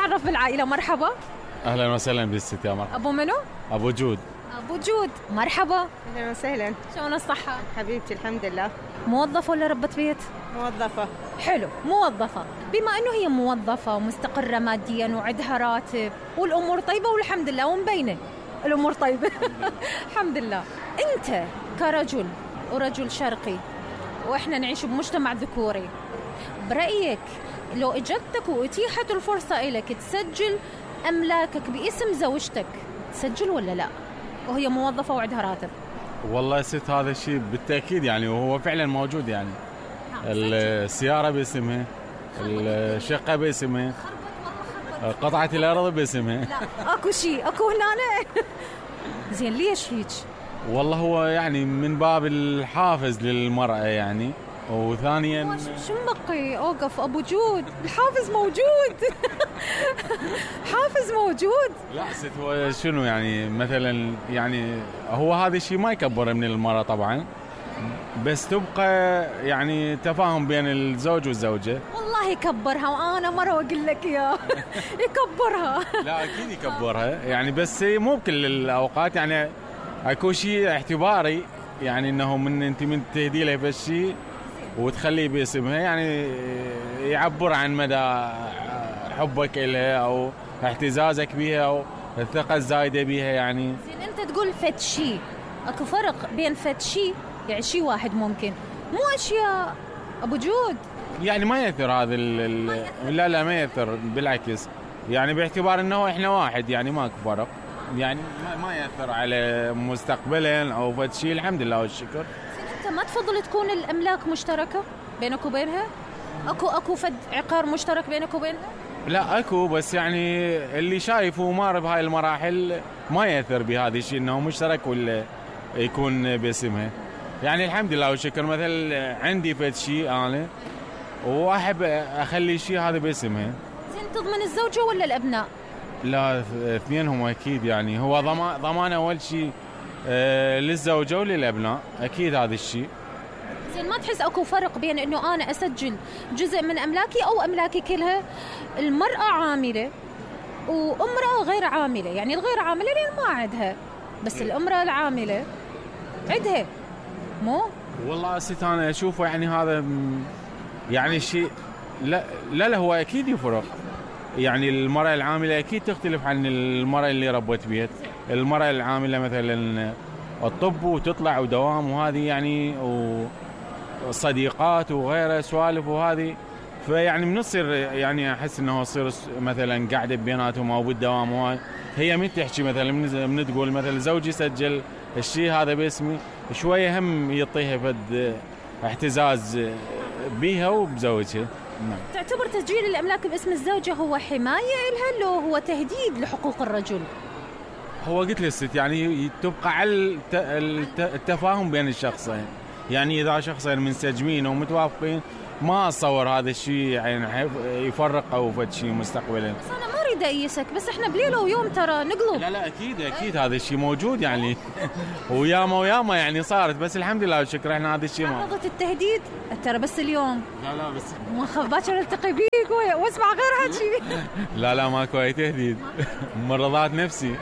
نتعرف بالعائلة. مرحبا. اهلا وسهلا بالست. يا مرحبا. ابو منو؟ ابو جود. ابو جود مرحبا. اهلا وسهلا. شلون الصحة؟ حبيبتي الحمد لله. موظفة ولا ربة بيت؟ موظفة. حلو، موظفة. بما انه هي موظفة ومستقرة ماديا وعندها راتب والامور طيبة والحمد لله ومبينة الامور طيبة الحمد لله. انت كرجل ورجل شرقي واحنا نعيش بمجتمع ذكوري، برأيك لو اجتك واتيحت الفرصة لك تسجل املاكك باسم زوجتك، تسجل ولا لا وهي موظفة وعندها راتب؟ والله ست هذا الشيء بالتأكيد يعني، وهو فعلا موجود يعني. السيارة باسمها، الشقة باسمها، قطعة الأرض باسمها. لا اكو شيء اكو هنا زين ليش هيك؟ والله هو يعني من باب الحافز للمرأة يعني، وثانيا شو مبقي اوقف ابو جود، الحافز موجود حافز موجود. لا ست هو شنو يعني مثلا يعني هو هذا الشيء ما يكبر من المرأة طبعا، بس تبقى يعني تفاهم بين الزوج والزوجة. والله يكبرها وانا مرة واقول لك يا يكبرها. لا اكيد يكبرها يعني، بس مو بكل الاوقات يعني. اكو شيء اعتباري يعني انه من تهدي له بهالشيء وتخليه باسمها يعني يعبر عن مدى حبك لها او اعتزازك بها او الثقة الزايدة بها يعني. زين انت تقول فد شيء، اكو فرق بين فد شيء يعني شيء واحد ممكن مو اشياء ابو جود يعني ما يأثر هذا لا ما يأثر بالعكس يعني، باعتبار انه احنا واحد يعني ماكو فرق يعني، ما يأثر على مستقبلا او فد شيء. الحمد لله والشكر. انت ما تفضل تكون الاملاك مشتركة بينك وبينها؟ اكو فد عقار مشترك بينك وبينها؟ لا اكو، بس يعني اللي شايفه مار بهاي المراحل ما يأثر بهذا الشيء انه مشترك ولا يكون باسمها يعني. الحمد لله والشكر. مثل عندي فد شيء انا واحب اخلي شيء هذا باسمها. زين تضمن الزوجة ولا الابناء؟ لا اثنينهم اكيد يعني. هو ضمان اول شيء للزوجة وللابناء اكيد هذا الشيء. زين ما تحس اكو فرق بين انه انا اسجل جزء من املاكي او املاكي كلها؟ المرأة عاملة وامرأة غير عاملة، يعني الغير عاملة لان ما عندها، بس الامرأة العاملة عندها مو؟ والله ست انا اشوفه يعني هذا يعني شيء لا هو اكيد يفرق يعني. المرأة العاملة اكيد تختلف عن المرأة اللي ربت بيت. المرأة العاملة مثلا الطب وتطلع ودوام وهذه يعني وصديقات وغيره سوالف وهذه، فيعني بنصير يعني احس انه يصير مثلا قاعده بيناتهم او بالدوام وهاي. هي من تحكي مثلا من تقول مثلا زوجي سجل الشيء هذا باسمي، شويه هم يعطيها فد اعتزاز بيها وبزوجها. نعم. تعتبر تسجيل الاملاك باسم الزوجه هو حمايه لها لو هو تهديد لحقوق الرجل؟ هو قلت للست يعني تبقى على التفاهم بين الشخصين يعني. اذا شخصين منسجمين ومتوافقين ما اتصور هذا الشيء يعني يفرق او فد شيء مستقبلا. بس انا ما اريد اقيسك، بس احنا بليله ويوم ترى نقلب. لا اكيد هذا الشيء موجود يعني وياما يعني صارت، بس الحمد لله والشكر احنا هذا الشيء ما عرضت التهديد ترى بس اليوم. لا بس ما خاف باكر التقي بيك واسمع غير هالشيء. لا ماكو اي تهديد من رضات نفسي.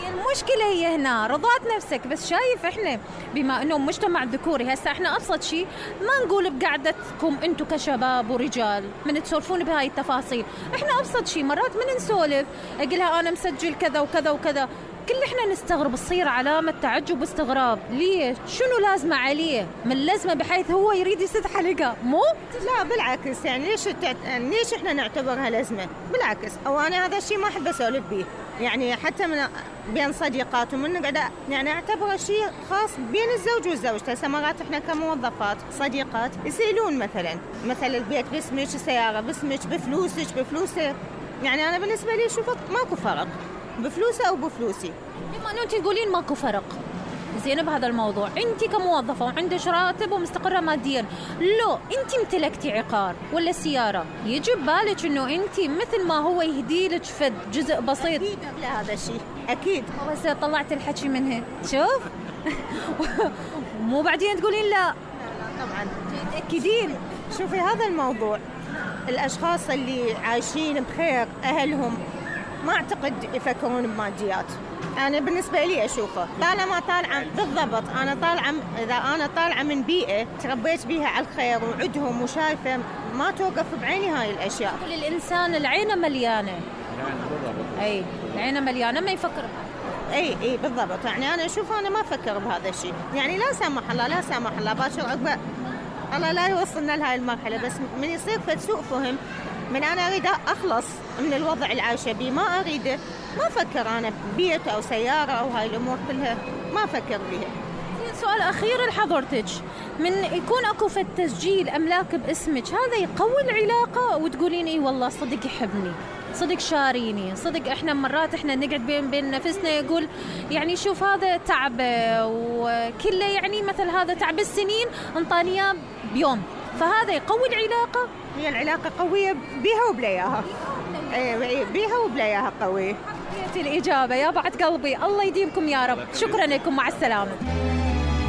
المشكله هي هنا رضات نفسك، بس شايف احنا بما انه مجتمع ذكوري هسه احنا ابسط شيء ما نقول بقعدتكم انتم كشباب ورجال من تسولفون بهاي التفاصيل، احنا ابسط شيء مرات من نسولف اقولها انا مسجل كذا وكذا وكذا، كل احنا نستغرب، تصير علامة تعجب واستغراب. ليش؟ شنو لازمة عليه من لازمة بحيث هو يريد يسد حلقة؟ مو؟ لا بالعكس يعني ليش احنا نعتبرها لازمة؟ بالعكس او انا هذا الشيء ما احب اسولف به يعني، حتى من بين صديقات ومن قاعدة يعني اعتبره شيء خاص بين الزوج والزوجة. هسه مرات احنا كموظفات صديقات يسألون مثلا البيت باسمك، السيارة باسمك، بفلوسه يعني. انا بالنسبة لي شوفت ماكو فرق بفلوسه او بفلوسي. بما انه انت تقولين ماكو فرق زين بهذا الموضوع، انت كموظفه وعندك راتب ومستقره ماديا، لو انت امتلكتي عقار ولا سياره يجي ببالك انه انت مثل ما هو يهدي لك فد جزء بسيط؟ اكيد لا هذا الشيء اكيد. بس طلعت الحكي منها شوف مو بعدين تقولين لا طبعا تاكدين. شوفي هذا الموضوع الأشخاص اللي عايشين بخير أهلهم ما أعتقد يفكرون بماديات. أنا بالنسبة لي أشوفه طالما طالعة بالضبط، إذا أنا طالعة من بيئة تربيت بيها على الخير وعدهم وشايفة ما توقف بعيني هاي الأشياء. الإنسان العين مليانة، أي العين مليانة ما يفكر بها. اي بالضبط. يعني انا اشوف انا ما افكر بهذا الشيء، يعني لا سامح الله باكر عقبه الله لا يوصلنا لهاي المرحله، بس من يصير سوء فهم من انا اريد اخلص من الوضع اللي عايشه بيه، ما اريده، ما افكر انا ببيت او سياره او هاي الامور كلها ما افكر بيها. سؤال اخير لحضرتك، من يكون اكو فد تسجيل املاك باسمك هذا يقوي العلاقه وتقولين اي والله صدق يحبني، صدق شاريني، صدق احنا مرات احنا نقعد بين نفسنا يقول يعني شوف هذا تعبه وكله، يعني مثل هذا تعب السنين انطاني اياه بيوم، فهذا يقوي العلاقه. هي العلاقه قويه بيها وبلاياها، بيها وبلاياها قويه. حبيت الاجابه يا بعد قلبي، الله يديمكم يا رب. شكرا لكم، مع السلامه.